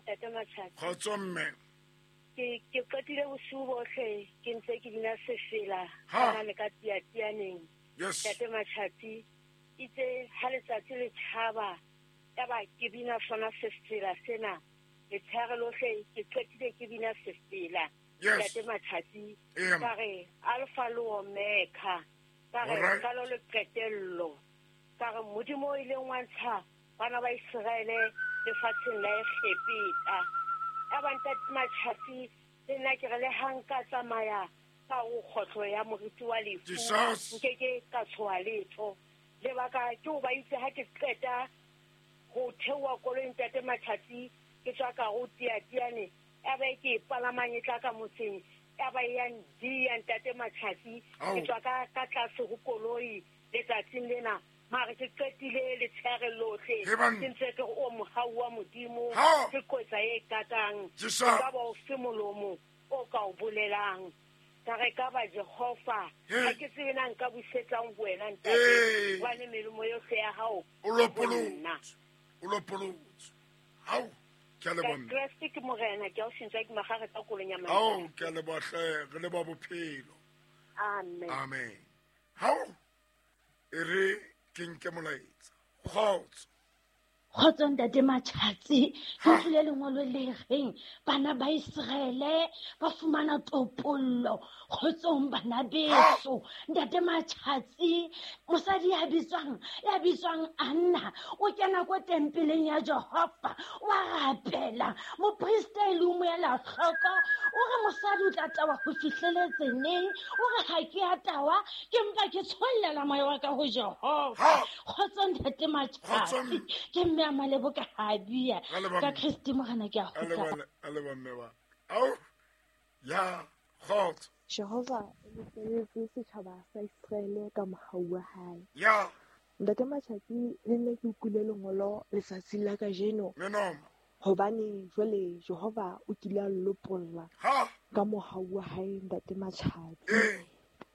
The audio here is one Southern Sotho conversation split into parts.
Ntate Matjhatsi. Kgotso mme. Ke qetile bosiu bohle ke ntse ke bina sefela Ha. kana le ka tiatianeng. Yes. Ntate Matjhatsi itse ha letsatsi le tjhaba yaba ke bina sona sefela sena. Letshehare lohle ke qetile ke bina sefela. Yes. Ntate Matjhatsi Ee, ka re Alpha le Omega. Ka re Alright. qalo le qetello. Ka re Modimo o ileng wa ntsha bana ba Iseraele lefatsheng la Egepeta. Ya ba Ntate Matjhatsi le nna ke re le ha nka tsamaya ka ho kgohlo ya moriti wa lefu, Jesus. nkeke ka tshoha letho. Lebaka ke hoba itse ha ke qeta ho theoha koloi Ntate Matjhatsi, ke tswa ka ho Tiatiane, ya ba e ke e palamang e tla ka motseng, ya ba e ya ndiya Ntate Matjhatsi, Ao. ke tswa ka tlase ho koloi letsatsing lena. Mare ke qetile letshehare lohle. He banna. Ke ntse ke re, o mohau wa Modimo, Ha. ke kotsa e kakang. Jesus. E ka ba o fe molomo o ka o bolelang. Ka re ka ba Jehova, He. ha ke tsebe na nka busetsang ho wena ntate. Ee. Hobane melemo yohle ya hao O e ho lopolotse. nna. O lopolotse. Hao, ke a leboha Ka mme. Kreste ke morena, ke a o sentse ke magare ka kolong ya Ao, Mantswe. ke a leboha hle, re leboha bophelo. Amen. Amen. Hao, e re ke nke molaetsa. Kgotso. Kgotso Ntate Matjhatsi, ke Ha. utlwile lengolo le reng bana ba Iseraele ba fumana topollo. Kgotsong bana beso. Ntate Matjhatsi, mosadi ya bitswang Anna o kena ko tempeleng ya Jehova, wa rapela. Moprista e le o mo ela hloko, o re mosadi o tla tawa ho fihleletse neng? O re ha ke a tawa, ke mpa ke tshollela moya wa ka ho Jehova. Ha. Kgotso Ntate Kgotso Matjhatsi, ke mme a Malebo ka Habia. Ra leboha Ka mme. Kriste Morena ke a A kgutla. leboha, a leboha mme wa. Ao, ya, kgotso. Jehova o lopollotse setjhaba sa Iseraele ka mohau wa hae. Ya, Ntate Matjhatsi, le nna ke utlwile lengolo letsatsing la kajeno menoma. hobane jwale Jehova o kile a lopolla Ha, ka mohau wa hae Ntate Matjhatsi. ee,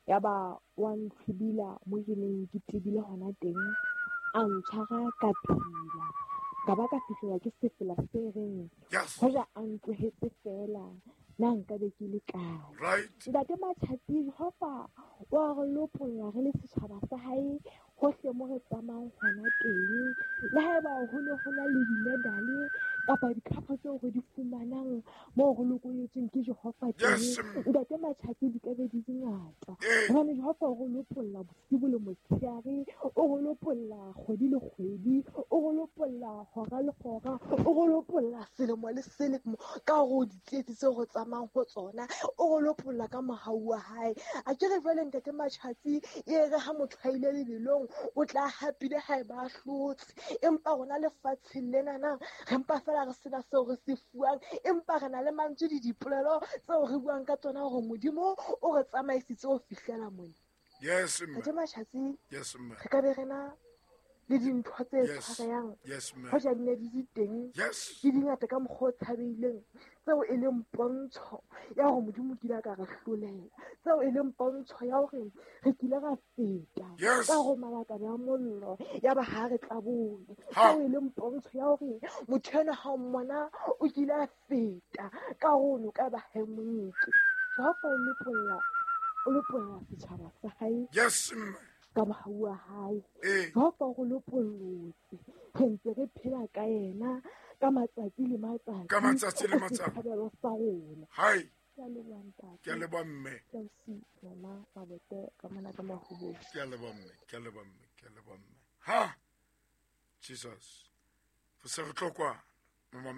Yaba wa ntlhwibila mo ke neng ke tebile hona teng, a ntshwara ka phela. Ka ba ka fihlelwa ke sefela se reng yes, hoja a ntlohetse feela na nkabe ke le kae. right. Ntate Matjhatsi, Jehova wa re lopolla re le setjhaba sa hae hohle mo re tsamayang hona teng. Le haeba ho ne ho na le di-medal kapa dikhapo tseo re di fumanang moo re lokolletsweng ke Jehova teng, Yes, mme. Ntate Matjhatsi di ka be di di ngata. Ee. Hobane Jehova o re lopolla bosibu le motshehare, o re lopolla kgwedi le kgwedi, o re lopolla hora le hora, o re lopolla selemo le selemo ka hore o ditsietsi tseo re tsamayang ho tsona, o re lopolla ka mohau wa hae. A ke re jwale Ntate Matjhatsi, e re ha motho a ile lebelong o tla hapile haeba a hlotse, empa rona lefatsheng lenana re mpa fela re sena seo re se fuwang, empa re na le mantswe le dipolelo tseo re buang ka tsona hore Modimo o re tsamaisitse ho fihlela mona. Yes, mme. Ntate Matjhatsi, Yes, mme. re ka be re na le dintho tse Yes. tshwarehang Yes, mme. hoja di ne di le teng, Yes. di dingata ka mokgwa o tshabeileng, tseo e leng pontsho ya hore Modimo o kile a ka re hlolela, tseo e leng pontsho ya hore re kile ra feta Yes. ka ho malakabe a mollo ya ba ha re tlabole, Ha. tseo e leng pontsho ya hore motho enwa ha o mmona o kile a feta ka ho noka ba ha e mo nke. Jehova o lopolla, o lopolla setjhaba sa hae Yes, mme. ka mohau wa hae. Ee. Jehova o re lopollotse, re ntse re phela ka yena ka matsatsi le matsatsi. Ka matsatsi le O matsatsi. setshabelo sa rona. Hai, Ke a leboha ntate. ke a leboha mme. Ke a o sitwa, ma Mabote ka mona ka Mahobong. Ke a leboha mme, ke a leboha mme, ke a leboha mme. Ha, Jesus, re se re tlo kwana, momamedi.